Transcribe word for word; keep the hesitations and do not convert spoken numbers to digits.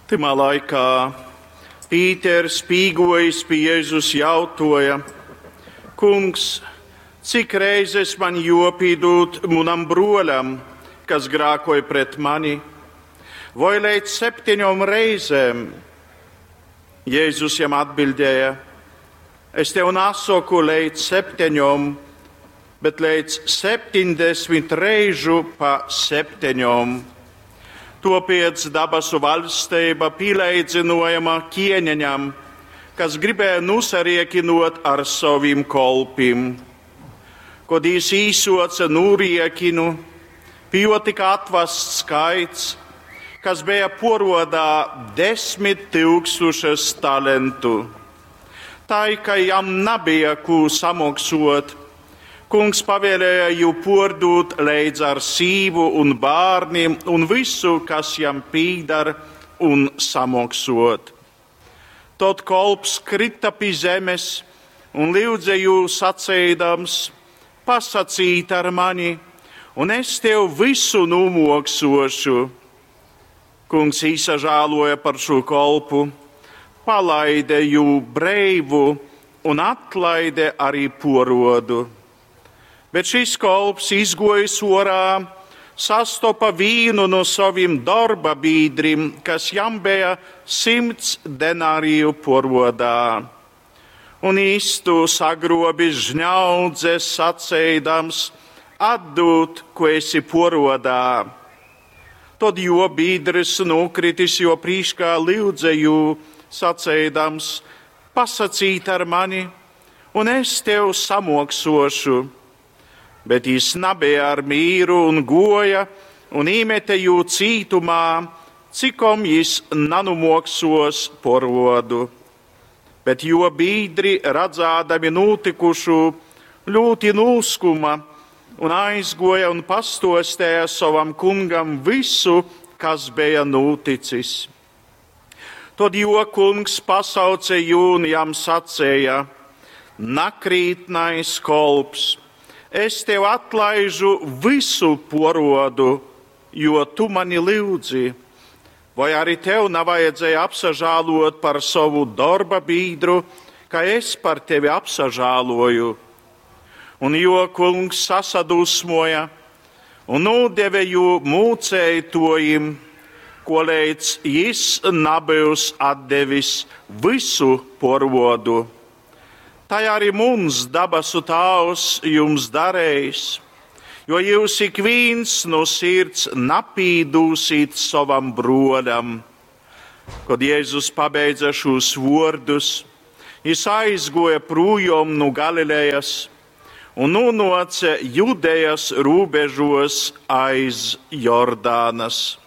Tymā laikā Pīters, pīgojis pi Jēzus, jautoja: Kungs, cik reizes man jopīdūt munam broļam, kas grākoj pret mani? Voi leidz septiņom reizēm? Jēzus jam atbildēja: Es tev nesaku leidz septiņom, bet leidz septiņdesmit reižu pa septiņom. Topiec dabasu valstība pileidzinojama ķieņeņam, kas gribēja nusariekinot ar savim kolpim. Kod jis īsoca nūriekinu, pie jo tika atvasts skaits, kas bija porodā desmit tūkstošas talentu. Tai, ka jam nebija ko samaksot, kungs pavēlēja jū pordūt leidz ar sīvu un bērniem un visu, kas jam pīdar, un samaksot. Tad kolps krita pie zemes un lūdza jū sacīdams: Pasacīt ar mani, un es tev visu numoksošu. Kungs īsažāloja par šo kolpu, palaide jū breivu un atlaide arī porodu. Bet šis kolps, izgojis orā, sastopa vīnu no saviem darba biedriem, kas jam bija simts denāriju porodā. Un īstu sagrobis žņaudze, sacīdams: Atdūt, ko esi porodā. Tad jo biedrs nokritis, jo prīškā lūdza jū, sacīdams: Pasacīt ar mani, un es tev samoksošu. Bet jis nebija ar mīru un goja, un īmete jū cītumā, cikom jis nanumoksos porodu. Bet jo biedri, redzādami notikušu, ļoti nūskuma un aizgoja un pastostēja savam kungam visu, kas bija noticis. Tad jo kungs pasauce jū un jam sacēja: Nakrītnais kolps, es tev atlaižu visu porodu, jo tu mani lūdzi. Vai arī tev nevajadzēja apsažālot par savu darba biedru, ka es par tevi apsažāloju? Un jo kungs sasadusmoja un nodeva jū mūcētojim, ko līdz jis nebūs atdevis visu porodu. Tai arī mums dabasu Tēvs jums darējis, jo jūs ik viens no sirds napīdūsit savam broļam. Kad Jēzus pabeidza šos vārdus, jis aizgoja projom no Galilejas un nonāca Judejas robežos aiz Jordānas.